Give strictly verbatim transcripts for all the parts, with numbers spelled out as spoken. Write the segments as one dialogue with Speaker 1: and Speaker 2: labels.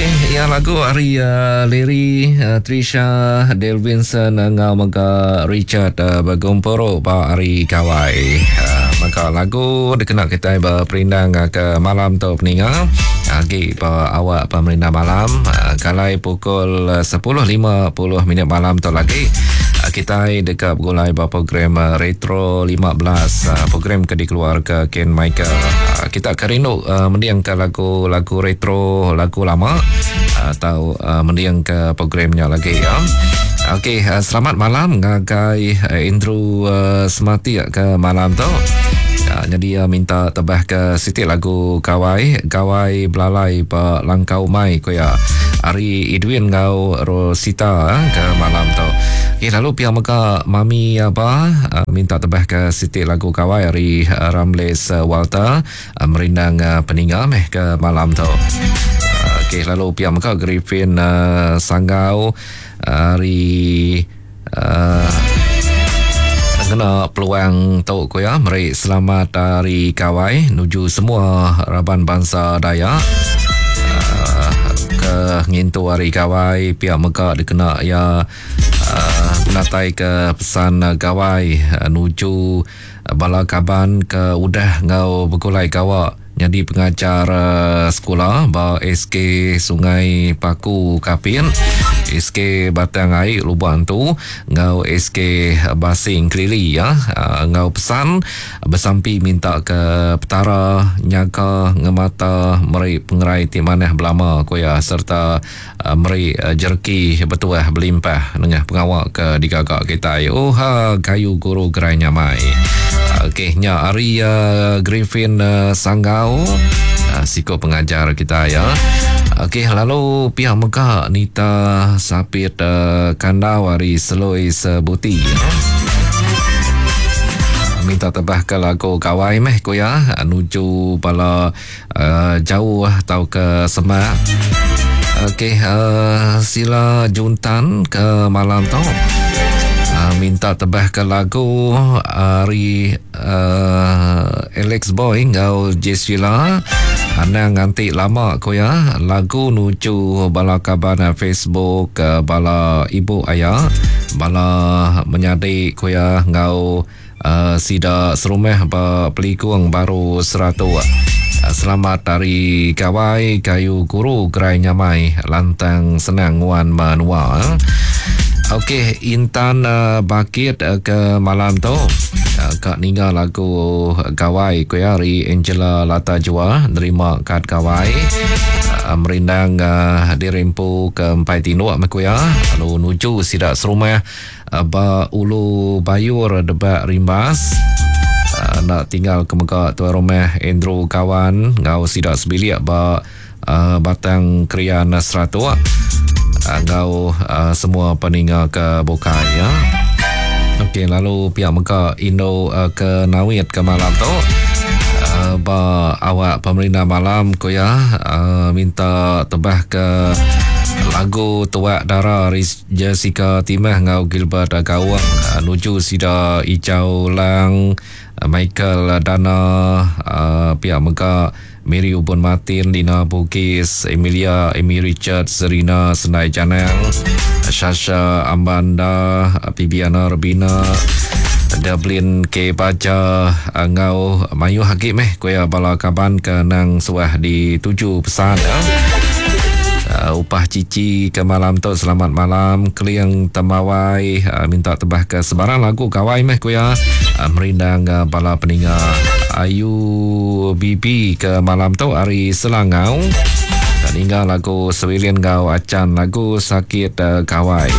Speaker 1: Okey, ya lagu hari uh, Larry, uh, Trisha, Del Vincent ngau mega Richard uh, bergumpuru ba hari Gawai. Uh, maka lagu dikena kita berperindang uh, ke malam tu peninga. Agi ba awak pemerintah malam uh, kalai pukul sepuluh lima puluh minit malam tu lagi. Uh, kita dekat bergulai ba program uh, Retro lima belas, uh, program ke dikeluar ke Ken Michael. Uh, kita kerindu uh, mendiang ke lagu-lagu retro, lagu lama atau uh, mendiang ke programnya lagi ya. Okey, uh, selamat malam ngagai uh, Andrew uh, Semati ke malam tu. Uh, jadi uh, minta tebah ke sitik lagu Gawai, Gawai Belalai ba Langkau Mai ko ya. Ari Edwin ngau Rosita uh, ke malam tu. Okey, lalu pihak mega Mami Aba uh, minta tebah ke sitik lagu Gawai ari uh, Ramles uh, Walter uh, merindang uh, peninga meh ke malam tu. Okey, lalu pihak mega Griffin uh, Sanggau hari uh, kena peluang tu ko ya, meri selamat hari Gawai nuju semua raban bangsa Dayak uh, ke ngintu hari Gawai. Pihak mega dikena ya uh, natai ke pesan Gawai uh, nuju bala kaban ke udah ngau bergulai gawak jadi pengajar uh, sekolah ba S K Sungai Paku Kapin, S K Batang Ai Lubuk Antu ngau S K Basing Kelili ya. Uh, ngau pesan bersampi minta ke petara nyaga ngemata meri pengerai ti manah belama ko ya, serta uh, meri uh, jereki betuah berlimpah nengah pengawak ke digagak kita. Oh ha gayu guru gerai nyamai. Okey, nya hari uh, Griffin uh, Sanggau uh, siko pengajar kita ya. Okey, lalu pihak mega Nita Sapit uh, Kandau hari Seloi Sebuti ya. Minta tebah ke lagu Gawai meh ko ya, nuju bala uh, jauh atau ke Semak. Okey, uh, sila juntan ke malam tu. Uh, minta tebah ke lagu hari uh, Alex Boy ngau Jesila Anang nganti lama ko ya, lagu nuju bala kaban Facebook, bala ibu ayah, bala menyadik ko ya ngau uh, sida serumah ba Pelikung baru seratus. Selamat hari Gawai kayu guru gerai nyamai lantang senang nguan menua. Okey, Intan uh, Bakit uh, ke malam tu uh, kak ninga lagu Gawai ko ya hari Angela Lata Jua nerima kad Gawai uh, merindang uh, dirempu ke empai tinduk ko ya, lalu nuju sidak serumah uh, ba Ulu Bayur Debak Rimbas. Uh, nak tinggal ke mega tuan rumah Andrew Kawan ngau sidak sebilik ba uh, Batang Krian seratus ngau uh, semua peninga ke bukai ya. Okey, lalu pihak mega Indo uh, ke Nawit ke malam tu uh, ba awak pemerintah malam ko ya, uh, minta tebah ke lagu Tuak Dara Jessica Timah ngau Gilbert Gawang uh, nuju sida Ijau Lang, uh, Michael Dana, uh, pihak mega Mary Ubun Martin, Lina Bugis, Emilia, Amy Richard, Serena Senai Janang, Sasha Ambanda, Bibiana Rebina, Dublin K Baja, ngau Mayu Hagib meh kuya bala kaban ke nang suah dituju pesan ya. Uh, upah cici ke malam tu selamat malam Keliang Temawai uh, minta tebah ke sebarang lagu Gawai meh kuya uh, merindang uh, bala peninga Ayu Bibi ke malam tu hari Selangau dan hingga lagu Sewilian Gau Acan lagu Sakit uh, Gawai.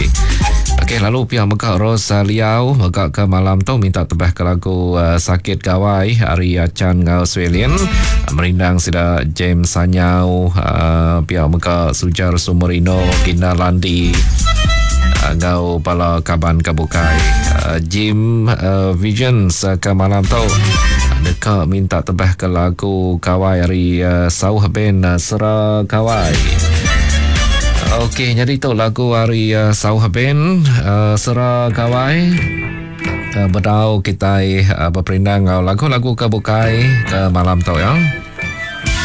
Speaker 1: Okey, lalu pihak mega Rosaliau mega ke malam tu minta tebah ke lagu uh, Sakit Gawai hari Acan ngau Swelin uh, merindang sida James Sanyau, uh, pihak mega Sujar Sumerino Gina Landi uh, ngau bala kaban kabukai uh, Jim uh, Visions uh, ke malam tu deka minta tebah ke lagu Gawai hari uh, Sauh Band uh, Sera Gawai. Okey, jadi tu lagu hari uh, Sauh Band uh, Sera Gawai. Uh, bedau kita uh, berperindang lagu-lagu ke bukai ke malam tu ya.